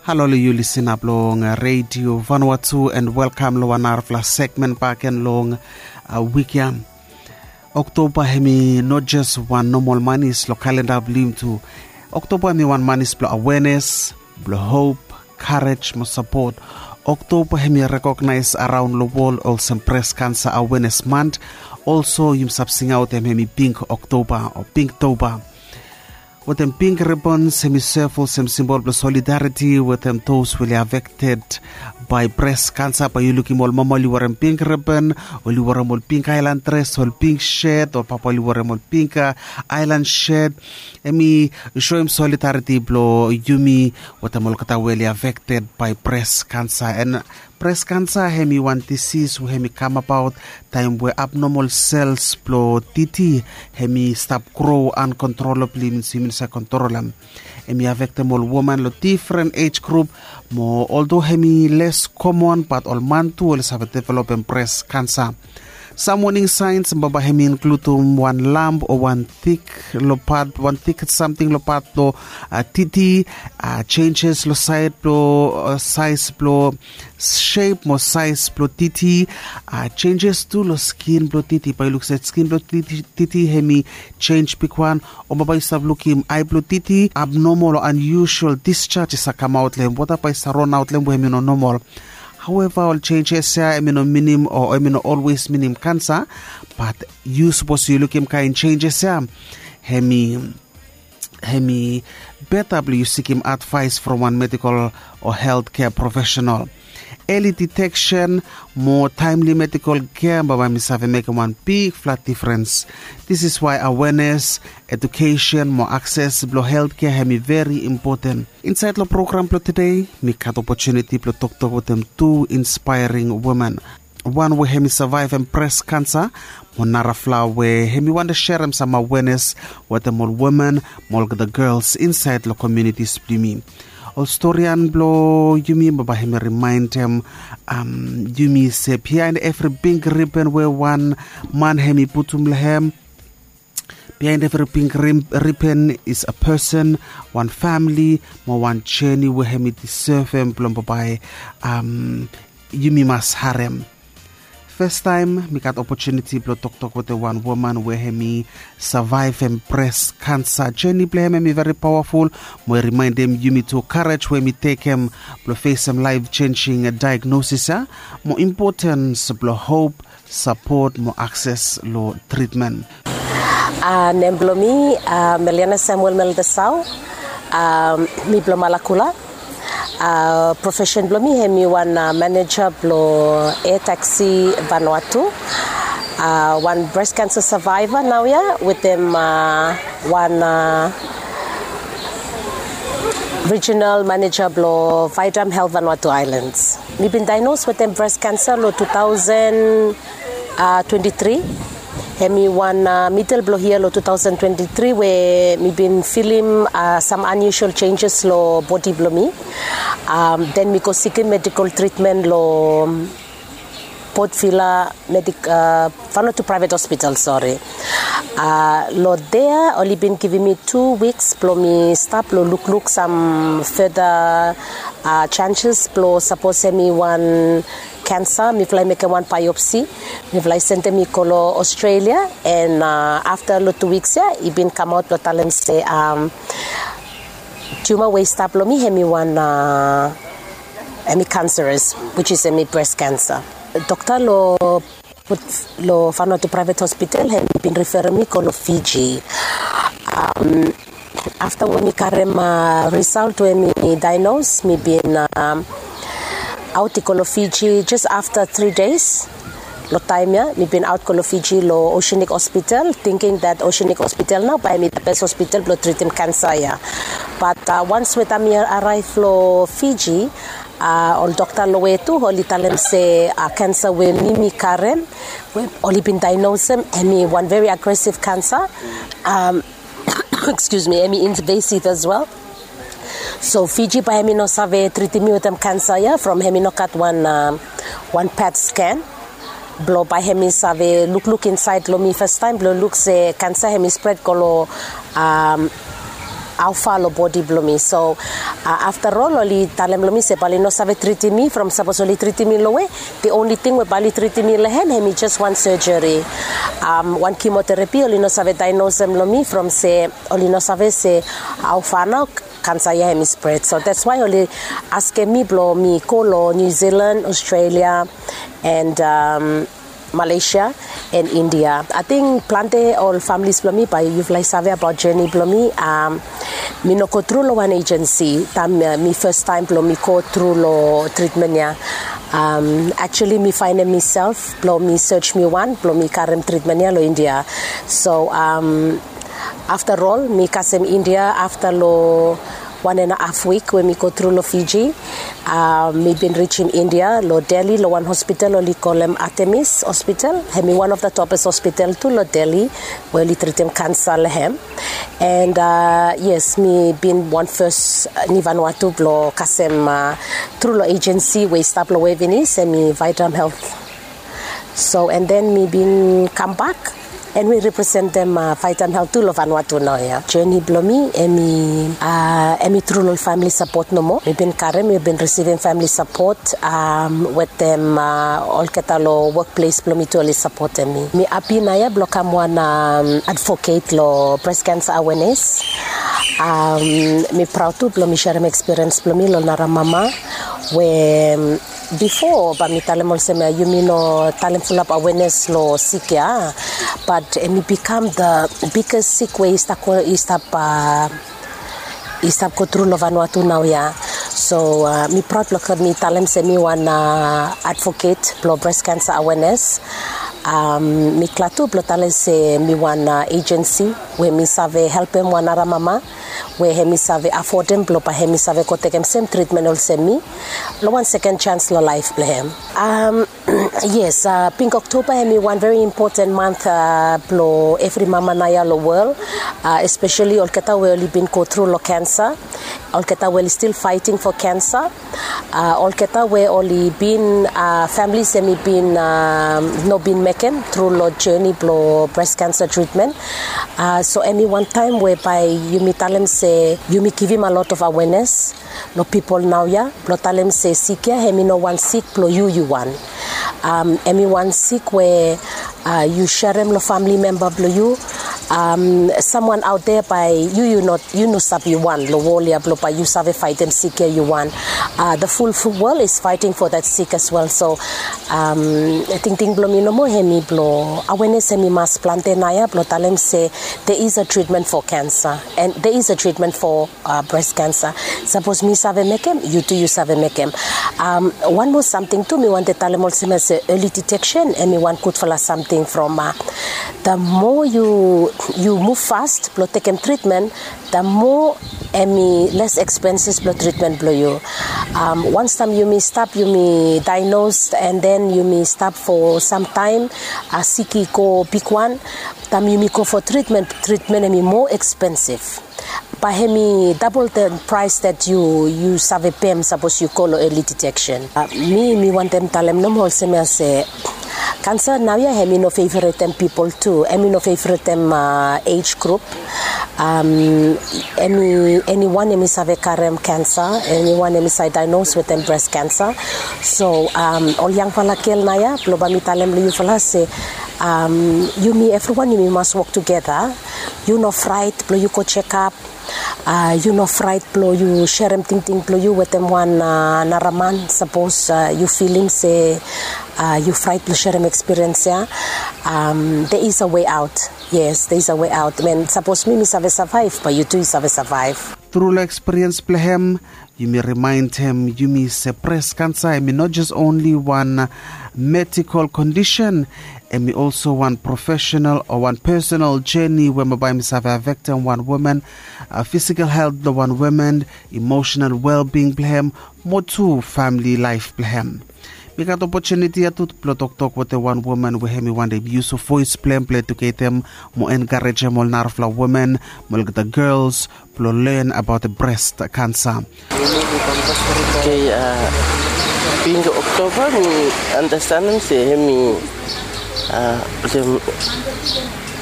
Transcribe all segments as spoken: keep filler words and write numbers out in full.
Halo long yu lisin ap long redio Vanuatu, and welkam long wan narafala segmen baken long wik ya. Oktoba hem i no jes wan nomal manis long kalenda blong yumi tu. Oktoba hem i wan manis blong awenes, blong hop, karej mo sapot. Oktoba hem i rekognaes araon long wol olsem bres kansa awenes mant. Olso yumi save singaot hem hem i pink oktoba o pink toba. Wetem pink ribons hem i sev olsem simbol blong solidariti wetem dos we oli afekted bae bres kansa. Bae yu lukim ol mama oli werem pink ribon, oli werem ol pink aelan dres, ol pink shet, o papa oli werem ol pink aelan shet. Hem i soem solidariti blong yumi wetem olgeta we oli afekted bae bres kansa. En bres kansa hem i wan disis we hem i kamabaot taem we abnomol sels blong titi hem i stap gro ankontrolabli, minim se yumi no save kontrolem. Hem i afektem ol woman long difren ej grup, mo oldo hem i les komon bat ol man tu oli save developem bres kansa. Sam woning saens bambae hem i inkludum wan lamp o wan tik long pat, wan tik samting long pat blong titi, jenjes long saed blong saes blong shep mo saes blong titi, jenjes tu long skin blong titi. Bae yu luk se skin blong titi hem i jenj bigwan. O bambae yu save lukim ae blong titi, abnomol o anyusual disjaj i save kamaot long hem, wota bae i save ronaot long hem we hem i no nomol. Haoeva ol jenjes ya hem i no minim o hem i no olwes minim kansa. Bat yu sapos yu lukim kaen jenjes ya, hem i hem i beta blong yu sikim advaes from wan medikol o helt kea profesenal. Eli diteksen mo taemli medikol kea bambae hem i save mekem wan bigfala difrens. Dis is wae awenes, edukesen mo akses blong helt kea hem i veri impoten. Insaed long program blong tede mi gat opotuniti blong toktok wetem tu inspaering woman. Wan we hem i savaevem bres kansa, mo narafala we hem i wantem serem sam awenes wetem ol woman mo olgeta gels insaed long komiunitis blong yumi. Ol storian blong yumi bambae hem i rimaendem yumi se biaen evri bing riben we wan man hem i putum long hem, biaen evri bing riben is a pesen, wan famili mo wan jeni we hem i disevem blong bambae yumi mas harem. Fastaem mi gat opotuniti blong toktok wetem wan woman we hem i savaevem bres kansa. Jeni blong hem hem i veri pawaful mo i rimaendem yumi tu karej we hem i tekem blong fesem laef jenjing daegnosis ya, mo impotens blong hop, sapot mo akses long tritmen. Nem blong mi Meliana Samuel Meldesau. Mi blong Malakula. Profesen blong mi hem i wan maneja blong Air Taxi Vanuatu. Wan bres kansa savaeva naoia wetem wan rijinal maneja blong Vaidam Helt Vanuatu Aelands. Mi bin daenos wetem bres kansa long tu taosen twenti tri. Hem i wan midel blong yia long tu taosen twenti tri we mi bin filim sam anyusual jenjes long bodi blong mi. Den mi go sikim medikol tritmen long Port Vila Medik Vanuatu Praevet Hospital, sori. Long dea oli bin givim mi tu wiks blong mi stap long lukluk sam feda jenjes blong sapos hem i wan kansa, mifala i mekem wan baeopsi. Mifala i sendem i go long Australia. En afta long tu wiks ya i bin kamaot blong talem se tiuma we i stap long mi hem i wan hem i kanseres, wis is hem i bres kansa. Dokta long Vanuatu Praevet Hospital hem i bin riferem mi go long Fiji. Afta we mi karem risaot we mi daenos, mi bin aot i go long Fiji jes afta tri des. Long taem ya mi bin aot go long Fiji long Oceanic Hospital, tingking dat Oceanic Hospital nao bae hem i da bes hospital blong tritim kansa ya. Bat wans we taem mi araev long Fiji, ol dokta long we tu oli talem se kansa we mi mi karem, oli bin daenosem hem i wan veri agresiv kansa. Excuse me, hem i invasiv as well. So Fiji bae hem i no save tritim mi wetem kansa ya from hem i no gat wan wan pet scan. Blong bae hem i save lukluk insaed long mi fastaem blong luk se kansa hem i spred go long haufa long bodi blong mi. So afta ol oli talem long mi se bae oli no save tritim mi from sapos oli tritim mi long we the only thing we bae oli tritim mi long hem hemi jes wan surgery, wan chemotherapy. Oli no save diagnosem long mi from se oli no save se haufa nao kansa ya hemi spread. So that's why oli askem mi blong mi go long New Zealand, Australia, and Malaysia and India. Ating plante ol familis blong mi bae yufala i save abaot journey blong mi. Mi no go tru long wan agency taem mi fastaem blong mi go tru long tritmen ya. Actually mi faenem miself blong mi search mi wan blong mi karem tritmen ya long India. So afta ol mi kasem India afta long wan and a haf wik we mi go tru long Fiji. Mi bin rijim India long Delhi long wan hospital oli kolem Artemis Hospital. Hemi wan of the topes hospital tu long Delhi we oli tritim kansa long hem. And yes, mi bin wan fes ni Vanuatu blong kasem tru long agency we i stap long Waveney, hemi Vitam Health. So and then mi bin kambak and mi representem Vitam Health tu long Vanuatu naoia. Journey blong mi hemi tru long famili sapot nomo. Mi bin karem, mi bin risivim famili sapot wetem olgeta long wokples blong mi tu oli sapotem mi. Mi hapi naoia blong kam wan advocate long breast cancer awareness. Mi praod tu blong mi serem ekspiriens blong mi long nara mama we bifo bae mi talem olsem ya yumi no talem fulap awareness long sik ya, but hemi bikam the biggest sik we i stap go tru long Vanuatu naoia. So mi praod blong mi talem se mi wan advocate blong breast cancer awareness. Mi glad tu blong talem se mi wan agency we mi save helpem wan nara mama we hemi save afodem blong bae hemi save go tekem sem tritmen olsem mi long wan seken jans long laef blong hem. Yes, Pink October hemi wan very important month blong evri mama naoia long wol, especially olgeta we oli bin go tru long kansa, olgeta we oli stil faeting fo kansa, olgeta we oli bin familis hemi bin no bin mekem tru long journey blong breast cancer treatment. So hemi wan taem we bae yumi talem se yumi givim a lot of awareness long pipol naoia blong talem se sik ya hemi no wan sik blong yu yu wan. Hemi wan sik we yu serem long famili memba blong yu, samwan aot dea bae yu yu no yu no stap yu wan long wol ya blong bae yu save faetem sik ya yu wan. The full wol is fighting for that sick as well. So tingting blong mi nomo hemi blong awareness hemi mas plante naoia blong talem se there is a treatment for cancer and there is a treatment for breast cancer. Sapos mi save mekem, yu tu yu save mekem. Wan moa samting tu mi wantem talem olsem ya se early detection hemi wan gudfala samting from the more yu muv fast blong tekem tritmen, the more hemi les expenses blong tritmen blong yu. Wans taem yumi stap yumi diagnose and then yumi stap fo samtaem, sik i go bigwan, taem yumi go fo tritmen, tritmen hemi moa expensive. Bae hemi double the price that yu yu save pem sapos yu go long early detection. Mi mi wantem talem nomo olsem ya se kansa naoia hemi no favoretem pipol tu, hemi no favoretem age group. Eniwan hemi save karem kansa, eniwan hemi save diagnose wetem breast cancer. So ol yangfala gel naoia blong bae mi talem long yufala se yumi evriwan yumi mas wok tugeta. Yu no fraet blong yu go jekap. Yu no fraet blong yu serem tingting blong yu wetem wan nara man sapos yu filim se yu fraet blong serem ekspiriens ya. There is a way out. Yes, there is a way out. Sapos mi mi save savaev bae yu tu yu save savaev. Tru long ekspiriens blong hem, yumi rimaenem yumi se breast cancer hemi no jes onli wan medical condition, hemi also wan professional o wan personal journey we bae hemi save afektem wan woman physical health blong wan woman, emotional well-being blong hem, mo tu famili laef blong hem. Mi gat opotuniti ya tu blong toktok wetem wan woman we hemi wantem yusum voes blong hem blong eduketem mo enkarejem ol narafala woman mo olgeta gels blong len abaot breast cancer. Okay, Pink October mi andastanem se hemi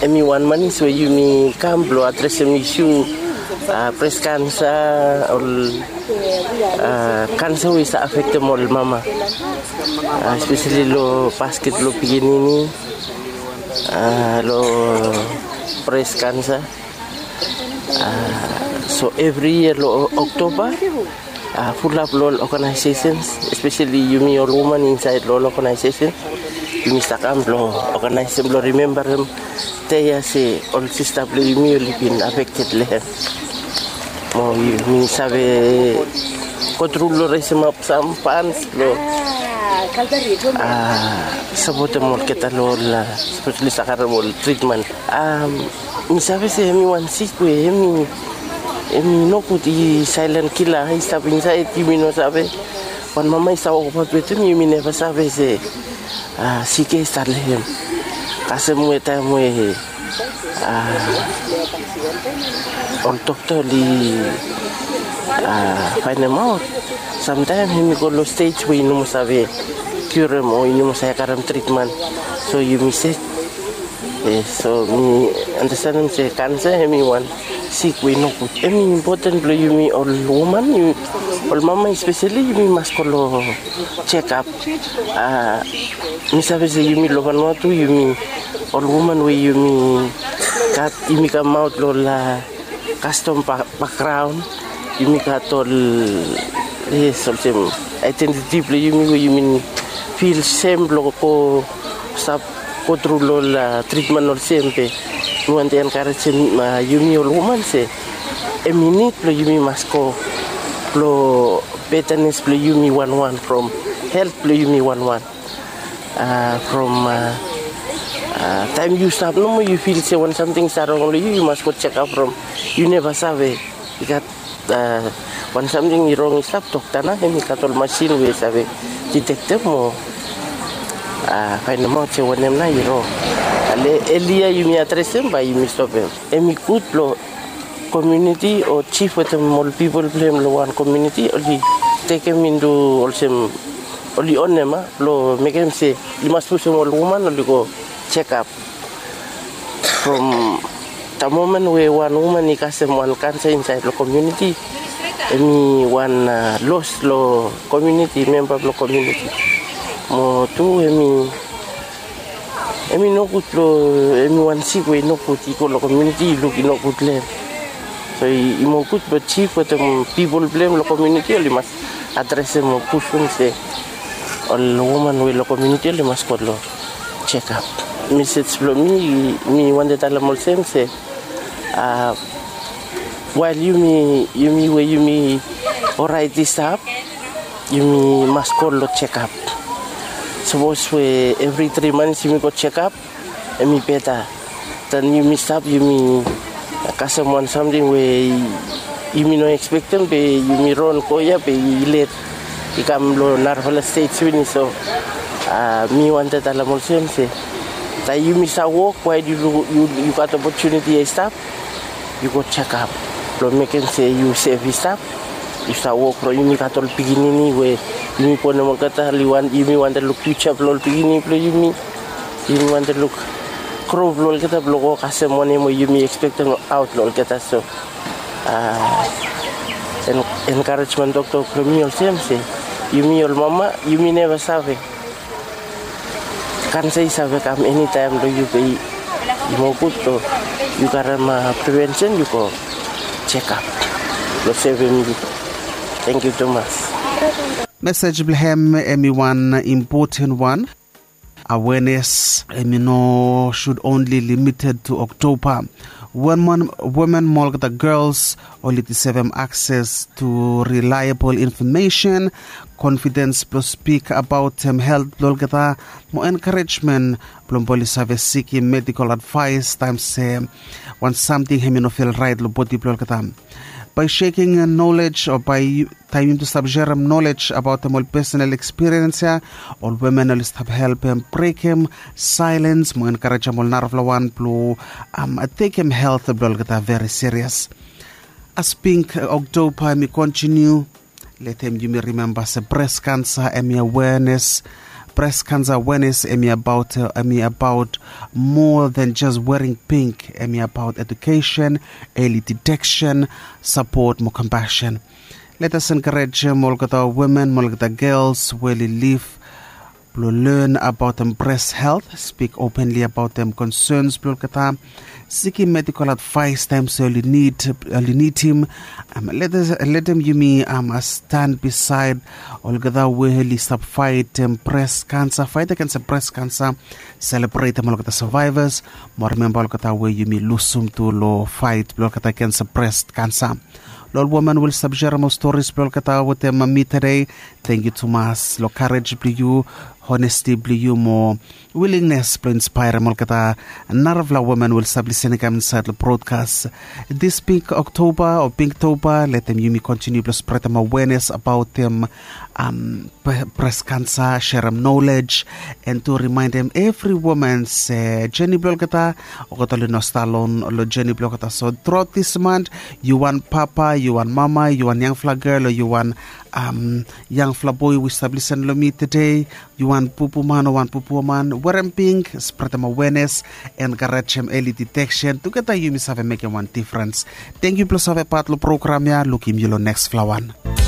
hemi wan manis we yumi kam blong adresem isu Pres kansa, ol kansa we i save afektem ol mama, espeseli long basket blong pikinini, long pres kansa. So evri yia long Oktoba, fulap long ol ogenaesesens, espeseli yumi ol woman insaed long ol ogenaesesens, yumi save kam blong ogenaesem blong rimembarem dei ya se ol sista blong yumi oli bin afekted long hem. Mo yumi save gotru long resemap sam fans blong sapotem olgeta long ol speseli save karem ol tritmen. Mi save se hemi wan sik we hemi hemi nogud, i sailen kila i stap insaed, yumi no save. Wan mama i save wokbaot wetem, yumi neva save se sik ya i stap long hem. Kasem we taem we ol dokta oli faenemaot, samtaem hemi go long stej we i no moa save kiurem o i no moa save karem tritmen. So yumi se, so mi anastenem se kansa hemi wan sik we i nogud. Hemi impoten blong yumi ol woman, ol mama espeseli, yumi mas go long jekap. Mi save se yumi long Vanuatu, yumi ol woman we yumi gat, yumi kamaot long ol kastom bakgraon, yumi gat ol, yes, olsem aedentiti blong yumi we yumi fil sem blong go stap gotru long ol tritmen olsem. Be mi wantem enkarejem yumi ol woman se hemi nid blong yumi mas go blong betanes blong yumi wanwan, from helt blong yumi wanwan. From taem yu stap nomo yu fil se wan samting i save rong long yu, yu mas go jekap from yu neva save i gat wan samting i rong i stap, dokta nao hemi gat ol masin we i save ditektem o faenemaot se wanem nao i rong. Ale elia yumi adresem bae yumi stopem. Hemi gud blong komuniti o jif wetem ol pipol blong hem long wan komuniti oli tekem intu olsem oli onem a blong mekem se oli mas pusum ol woman oli go jekap. From da momen we wan woman i kasem wan kansa insaed long komuniti, hemi wan los long komuniti, memba blong komuniti. Mo tu hemi hemi nogud blong hemi wan sik we i nogud i go long komuniti i luk i nogud long hem. So i moa gud blong jif wetem pipol blong hem long komuniti oli mas adresem o pusum se ol woman we long komuniti oli mas go long jekap. Mesej blong mi, mi wantem talem olsem se wael yumi, yumi we yumi oraet i stap, yumi mas go long jekap. Sapos we evri tri mans yumi go jekap, hemi beta. Taem yumi stap yumi kasem wan samting we yumi no ekspektem be yumi ron go ya be i let i kam long narafala stej finis. So mi wantem talem olsem se taem yumi save wok wael yu gat opotuniti ya i stap, yu go jekap blong mekem se yu sef i stap. Yu save wok blong yumi gat ol pikinini we yumi bonem olgeta, yumi wantem luk fiuja blong ol pikinini blong yumi. Yumi wantem luk gro blong olgeta blong go kasem wanem we yumi ekspektem aot long olgeta. So enkarejmen toktok blong mi olsem se yumi ol mama yumi neva save. Kansa i save kam enitaem long yu be i moa gud blong yu karem prevensen, yu go jekap blong sevem yu. Tangkiu tumas. Mesej blong hem hemi wan impoten wan. Awenes hemi no sud onli limited tu Oktoba. Women mo olgeta gels oli deservem akses tu reliabol infomesen, konfidens blong spik abaotem helt blong olgeta, mo enkarejmen blong oli save sikim medikol advaes taem se wan samting hemi no fel raet long bodi blong olgeta. Bae seking nolej o bae taem yumi tu stap serem nolej abaotem ol pesonal ekspiriens ya, ol women oli stap helpem brekem saelens mo enkarejem ol narafala wan blong tekem helt blong olgeta veri sirias. As Pink Oktoba hemi kontiniu, letem yumi rimemba se bres kansa hemi awenes Breast cancer awareness em i about uh, em i about more than just wearing pink. Em i about education, early detection, support mo compassion. Let us encourage um, olgeta women mo olgeta girls we li live blong learn about them breast health, speak openly about them concerns blong olgeta, seeking medical advice time so you need you need him. Um, let us let them yumi um, stand beside olgeta we li stop fight um, breast cancer, fight against the breast cancer. Celebrate them olgeta survivors. Mo remember olgeta we yumi lusum tu lo fight blong olgeta against the breast cancer. Lo ol woman we stop sharing ol stories blong olgeta wetem mi today. Thank you tumas lo courage blong you, honesty blong you mo willingness blong inspire olgeta narafla woman we stop listening kam inside lo broadcast. This pink October or Pinktober, let them yumi continue blong spread them awareness about them um, breast cancer, share them knowledge, and to remind them every woman se journey blong olgeta olgeta oli no stap alone lo journey blong olgeta. So throughout this month, you want papa, you want mama, you want young fla girl, or you want um, young fla boy we stop listen lo me today, you want pupu man or want pupu woman, wear them pink, spread them awareness, and garage them early detection. Together you may have make one difference. Thank you plus have a part lo program ya. Looking you lo next flower.